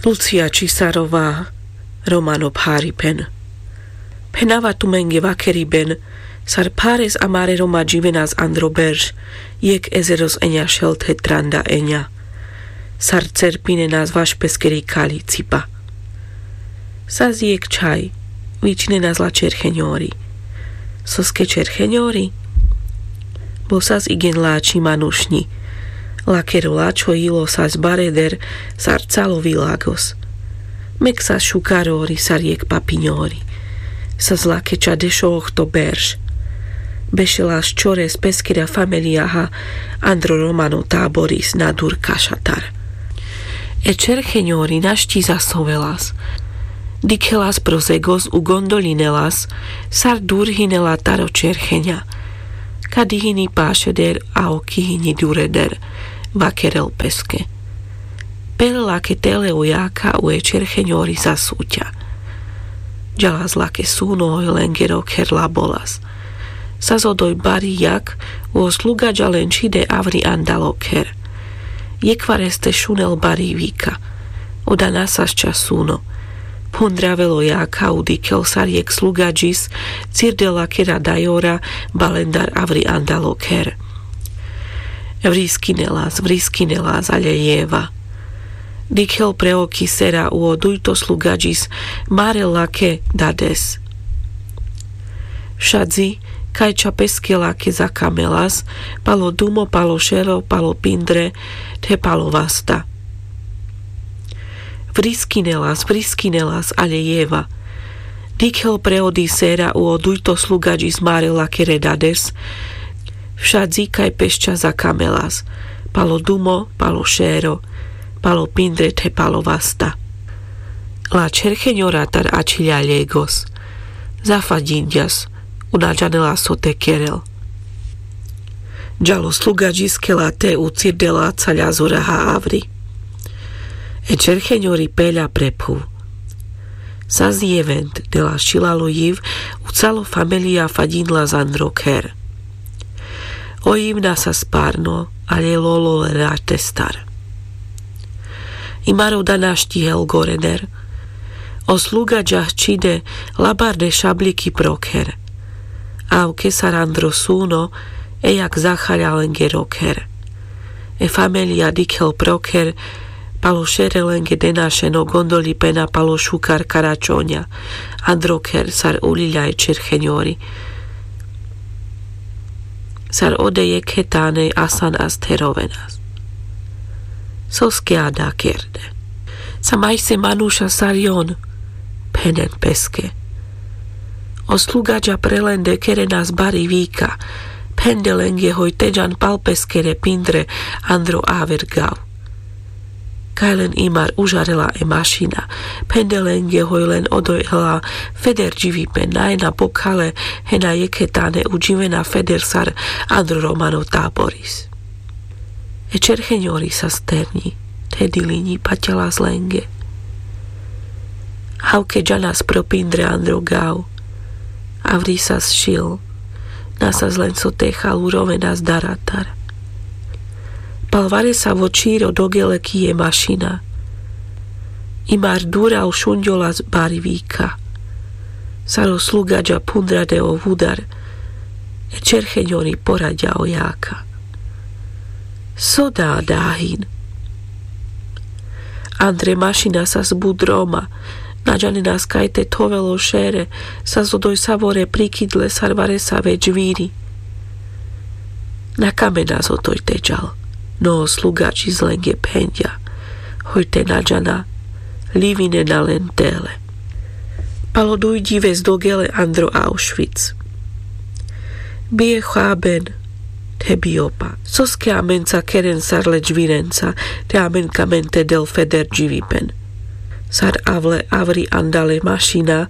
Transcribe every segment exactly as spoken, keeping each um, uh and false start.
Lucia čisarova. Romano pharipen. Phenava tumenge vakeriben. Sar phares amare roma dživenas andro berš, jekh ezeros enja šel the tranda enja. Sar cerpinenas vaš peskeri kali cipa. Sas jekh čhaj vičinenas la čerhenjori. Soske čerhenjori? Bo sas igen lači manušnji. Lakero lačho jilo sas bareder sar calo vilagos. Mek sas šukarori sar jekh papinjori. Sas lake ča dešo ohto berš. Bešelas čores peskera familijaha andro romano taboris na dur kašatar. E čerhenjori našti zasovelas. Dikhelas pro zegos u gondolinelas sar dur hinela taro čerhenja. Kadi hini pašeder a oki hini dureder, vakerel peske. Pele lake tele u jaka u e čerhenjori zasuća. Džalas lake suno hoj lengero kher labolas. Sas odoj bari jak u o slugadža len čhide avri andalo kher. Jekhvareste šunel bari vika. Oda na sas ča suno. Phundravel o jaka u dikhel sar jekh slugadžis cirdel lakera dajora balendar avri andalo kher. Vriskinelas, vriskinelas, ale jeva. Dikhel pre oki sera u o dujto slugadžis marel lake dades. Šadzi kaj ča peske lake zakamelas, palo dumo, palo šero, palo pindre, the palo vasta. Vriskinelas, vriskinelas, ale jeva. Dikhel pre odi sera u o dujto slugadžis marel lakere dades. Šadzi kaj pešča zakamelas, palo dumo, palo šero, palo pindre, the palo vasta. La čerhenjora tar ačhilja ljegos. Zafadjinđas, u na džanela so te kerel. Džal o slugadžis kela te u cirdela caľa zoraha avri. E čerhenjori pelja pre phuv. Sas jevend, dela šilalo jiv, u calo familija fadjinlas andro kher. O jiv na sas parno, ale lolo le ratestar. Imar oda našti hel gorener. O slugadža čhide labarde šabliki pro kher. Avke sar andro suno, e jak zahaľa lengero kher. E familija dikhel pro kher, palo šere lenge denašeno gondolipen a palo šukar karačonja, andro kher sar uľiľa e čerhenjori. Sar ode jekhe tane asan as therovenas. Soske ada kerde. Sa majse manuša sar jon, phenen peske. O slugadža pre lende kerenas bari vika, phende lenge hoj te džan pal peskere pindre andro aver gav. Kaj len imar užarela e mašina, phende lenge hoj len odoj hela feder dživipen, na ena bokhale, hena jekhe tane u dživena feder sar andro romano taboris. E čerhenjori sas ternji, the dilinji paťalas lenge. Avke džanas pro pindre andro gav, avri sas šil, na sas len so te hal, urovenas daratar. Pal varesavo čhiro dogele ki e mašina. Imar dura u šunďolas bari vika. Sar o slugadža phundrade o vudar, e čerhenjori poraďa o jaka. So da dahin. Andre mašina sas but roma, na džanenas kaj te thovel o šere, sas odoj savore prikidle sar varesave džviri. Na kamenas odoj te džal, no o slugadžis lenge phenďa, hoj te na džana, livinena len tele. Palo duj dives dogele andro Aušvic. Bie haben, the biopa. Soske amenca keren sar le džvirenca, the amen kamen te del feder dživipen. Sar avle avri andale mašina,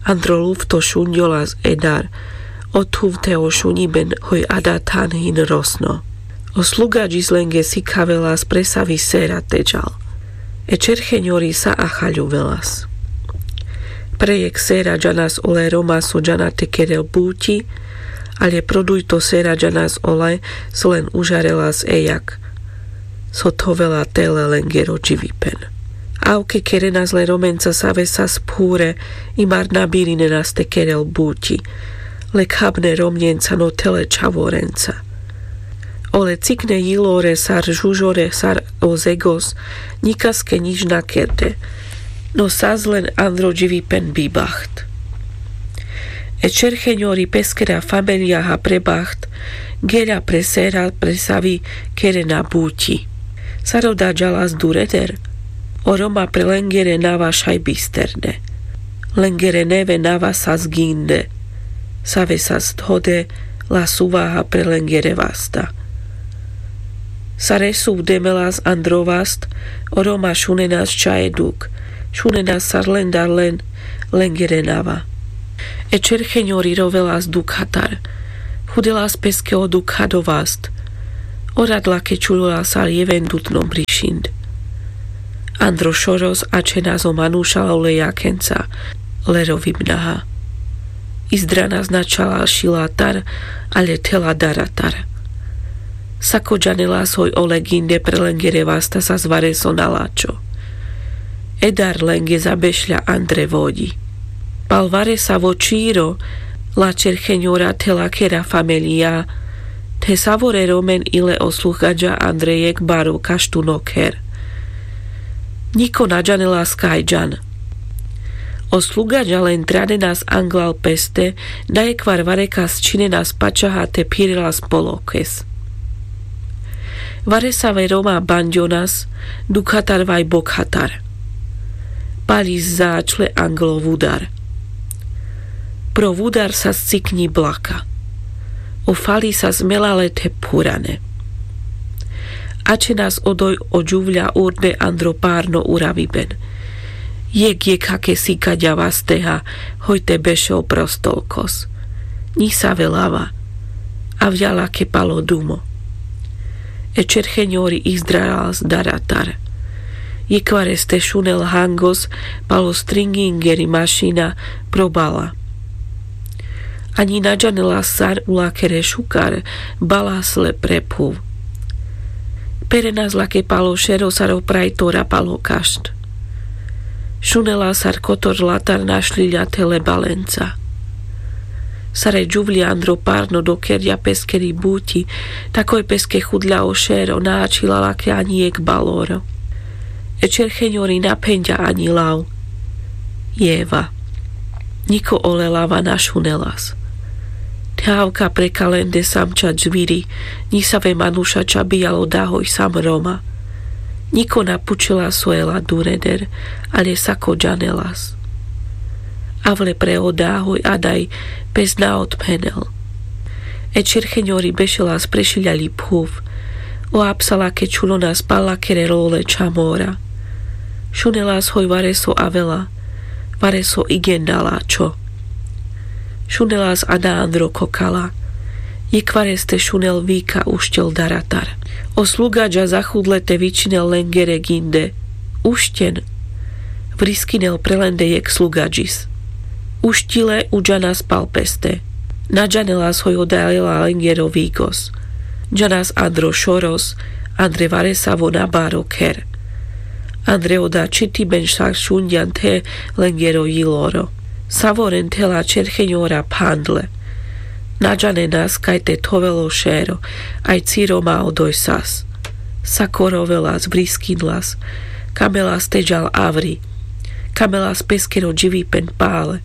andro lufto šunďolas e dar, o thuv the o šunjiben hoj ada than hin rosno. O slugadžis lenge sikhavelas presavi sera te džal. E čerhenjori sa ahaľuvelas. Pre jekh sera džanas ole roma so džana te kerel buti, ale pro dujto sera džanas ole so len užarelas e jak, so thovela tele lengero dživipen. Avke kerenas le romenca save sas phúre, imar na birinenas te kerel buti. Le khabne romnenca no the le čhavorenca. Ole cikne jilore sar žužore sar o zegos, nikaske nič na kerde. No sas len andro dživipen bibaht. E čercheňori peskera familijaha prebaht, geľa pre sera pre savi kerena buti. Sar oda džalas dureder. O roma pre lengere nava šaj bisterne. Lengere neve nava sas ginde. Save sas thode la suvaha pre lengere vasta. Sar e suv demelas andro vast, o roma šunenas čae duk, šunenas sar lendar len lengere nava. E čercheňori rovelas dukhatar. Hudelas peske o dukhado vast. O rad lake čulola sar jevendutno brišind. Andro šoros ačhenas o manuša ole jakhenca le rovibnaha. Izdranas na čala šilatar, ale thela daratar. Sako džanelas hoj ole ginde pre lengere vasta sas vareso na lačo. E dar lenge zabešľa andre vodji. Pal varesavo čiro, la čercheňora the lakera familija, the savore romen i le o slugadža andre jekh baro kaštuno kher. Niko na džanelas kaj džan. O slugadža len tranenas anglal peste, na jekhvar varekas čhinenas pačaha te phirelas polokes. Varesave roma banďonas, dukhatar vaj bokhatar. Palis zaačle anglo vudar. Pro vudar sas cikňi blaka. O fali sas melale the phurane. Ačhenas odoj o džuvľa urbe andro parno uraviben. Jekh jekhake sikaďa vasteha, hoj te bešel prostolkos. Ni save lava. Avľa lake palo dumo. E čercheňori izdralas daratar. Jekhvares te šunel hangos palo stringingeri mašina probala. Aňi na džanelas sar u lakere šukar balas le pre phuv. Perenas lake palo šero sar o prajtora palo kašt. Šunelas sar kotor latar našľiľa the le balenca. Sar e džuvľa andro parno dokerďa peskeri buti, takoj peske chudľa o šero na ačhila lake aňi jekh baloro. E čercheňori na phenďa aňi lav. Jeva. Niko ole lava na šunelas. The avka pre kalende samča džviri, ni save manuša ča bijal oda hoj sam roma. Niko na pučelas so e la dureder, ale sako džanelas. Avle pre oda hoj adaj pes na otphenel. E čercheňori bešelas pre šiľaľi phuv. O apsa lake čulonas pal lakere lole ča mora. Šunelas hoj vareso avela, vareso igen na lačo. Šunelas ada andro kokala. Jekhvares te šunel vika ušťel daratar. O slugadža zachudle te vičinel lengere ginde. Ušťen. Vriskinel pre lende jekh slugadžis. Ušťile u džanas pal peste. Na džanelas hoj oda lela lengero vigos. Džanas andro šoros, andre varesavo na baro kher. Andre oda čitiben šak šunďan the lengero jiloro. Savoren the la čercheňora phandle. Na džanenas kaj te thovel o šero, aj ciro ma odoj sas. Sako rovelas, vriskinlas, kamelas te džal avri, kamelas peskero dživipen pale.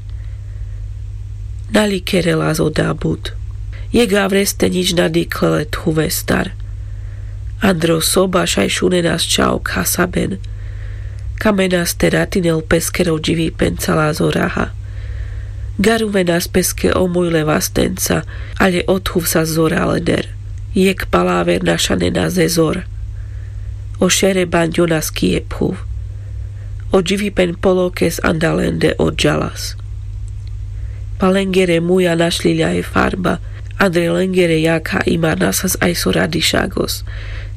Na likerelas oda but. Jekh avres te nič na dikhle le thuvestar. Andro soba šaj šunenas ča o khasaben. Kamenas te ratinel peskero dživipen cala zoraha. Garuvenas peske o mujle vastenca, ale o thuv sas zora leder. Jekh palaver na šanenas e zor. O šere banďonas ki e phuv. O dživipen polokes anda lende odžalas. Pal lengere muja našľiľa e farba, andre lengere jakha imar na sas aj so radišagos,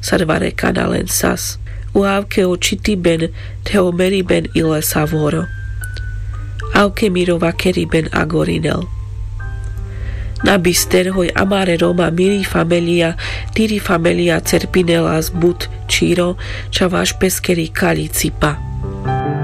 sar varekana len sas. O avke o čitiben the o meriben i le savoro. Avke miro vakeriben agorinel. Na bister hoj amare roma miri familija, tiri familija cerpinelas but čiro, ča vaš peskeri kaľi cipa.